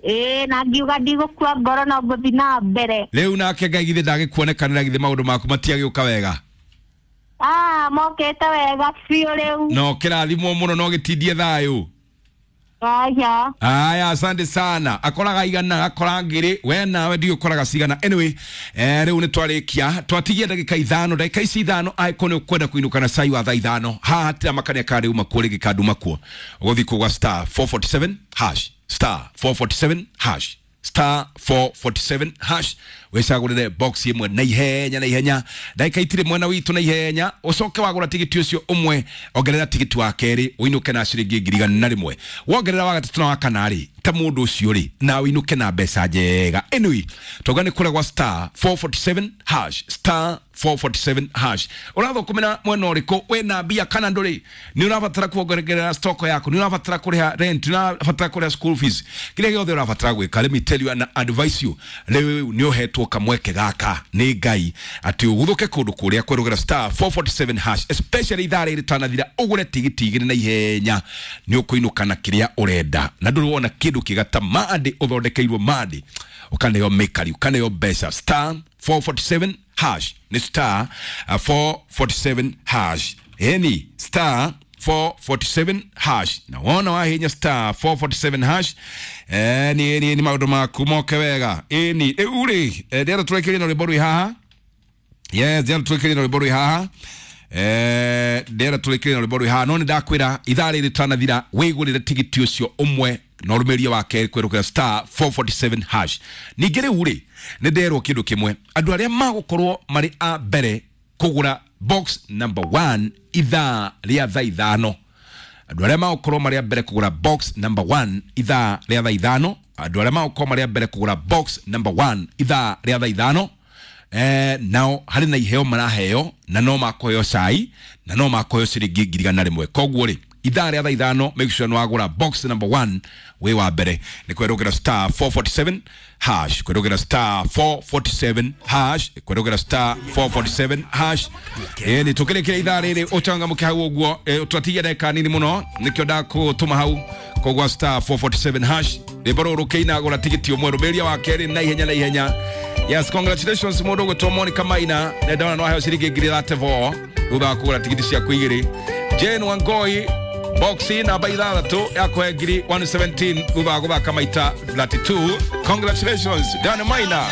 Ĩĩ, na ngiuga ndigũkua ngoro no ngũthiĩ na mbere. Rĩu nake Ngai githĩ ndagĩkuonekanĩra, githĩ maũndũ maku matiagĩũka wega? Ah, mokĩte wega biũ rĩu. No kĩrathimwo mũno, no gĩtindie thayũ. Aya. Aya, asante sana. Akoraga igana, akora ngiri, we nawe ndiũ ũkoraga cigana. Anyway, rĩu nĩ twarĩkia, twatigia ndagĩka 5, ndagĩka ici 5 angĩkorwo nĩ ũkwenda kũinũka na cai wa thaa 5, haha hatiramakania kana rĩu makuo rĩngĩ kana nduma kuo. Ũgũthiĩ kũgwa star 447 hash, star 447 hash, star 447 hash, wĩcagũrĩre box ĩmwe na ihenya na ihenya, ndagĩka itirĩ mwena witũ, na ihenya ũcoke wagũra tigiti ũcio ũmwe, ongerera tigiti wa kerĩ ũinũke na ciringi 101,000, wongerera wa gatatũ na wa kana rĩ, ta mũndũ ũcio rĩ, na ũinũke na mbeca njega. Anyway, twauga nĩ kũrĩa gwa star 447 hash, star 447 hash. Ũrathũkũmĩra mwena ũrĩkũ? Wĩna mbia kana ndũrĩ? Nĩ ũrabatara kuongerera stock yaku, nĩ ũrabatara kũrĩha rent, nĩ ũrabatara kũrĩha school fees, kĩrĩa gĩothe ũrabatara gwĩka, let me tell you and advise you, rĩu nĩ ũhetwo kamweke gaka nĩ Ngai atĩ ũguthũke kũndũ kũrĩa kwerũgĩra star 447 hash, especially ithaa rĩrĩ rĩtanathira, ũgũre tigiti 2 na ihenya, nĩ ũkũinũka na kĩrĩa ũrenda, na ndũrĩ wona kĩndũ kĩega ta mandĩ ũthondekeirwo mandĩ, ũkaneo mĩkari, ũkaneo mbeca. Star 447 hash, nĩ star 447 hash, ĩni star 447 hash, na wona wahinya star 447 hash, ni maũndũ maku moke wega. Ĩni rĩu rĩ, ndĩrenda tũrekerie na rwĩmbo rwĩ haha. Yes, ndĩrenda tũrekerie na rwĩmbo rwĩ haha. Ndĩrenda tũrekerie na rwĩmbo rwĩ haha, no nĩ ndakwĩra ithaa rĩrĩ rĩtanathira wĩgũrĩre tigiti ũcio ũmwe na ũrũmĩrĩrie wa kerĩ kwerũkĩra star 447 hash. Ningĩ rĩu rĩ, nĩ nderwo kĩndũ kĩmwe, andũ arĩa magũkorwo marĩ a mbere kũgũra box number 1 ithaa rĩa thaa 5, andũ arĩa magũkorwo marĩ a mbere kũgũra box number 1 ithaa rĩa thaa 5, andũ arĩa magũkorwo marĩ a mbere kũgũra box number 1 ithaa rĩa thaa 5, nao harĩ na iheo maraheo, na no makũheo cai na no makũheo ciringi 100,000. Koguo rĩ, ithaa rĩa thaa 5, make sure nĩ wagũra box number 1 wĩ wa mbere, nĩ kwerũgĩra star 447 hash, kwerũgĩra star 447 hash, kwerũgĩra star 447 hash. Ĩni tũkĩrĩkĩra ithaa rĩrĩ ũcangamũke hau ũguo, twatigia ndagĩka nini mũno, nĩkĩo ndakũtũma hau kũgwa star 447 hash, rwĩmbo rũrũ rũkĩina, gũra tigiti ũmwe, rũmĩrĩria wa kerĩ na ihenya na ihenya. Yes, congratulations mũndũ ũgwĩtwo Monica Maina, na ndona no aheo ciringi 34,000 thutha wa kũgũra tigiti ciaku 2. Jane Wangoi, boxi namba 6 yakũhe 117,000 thutha wa gũthaka maita 32. Congratulations Dan Maina.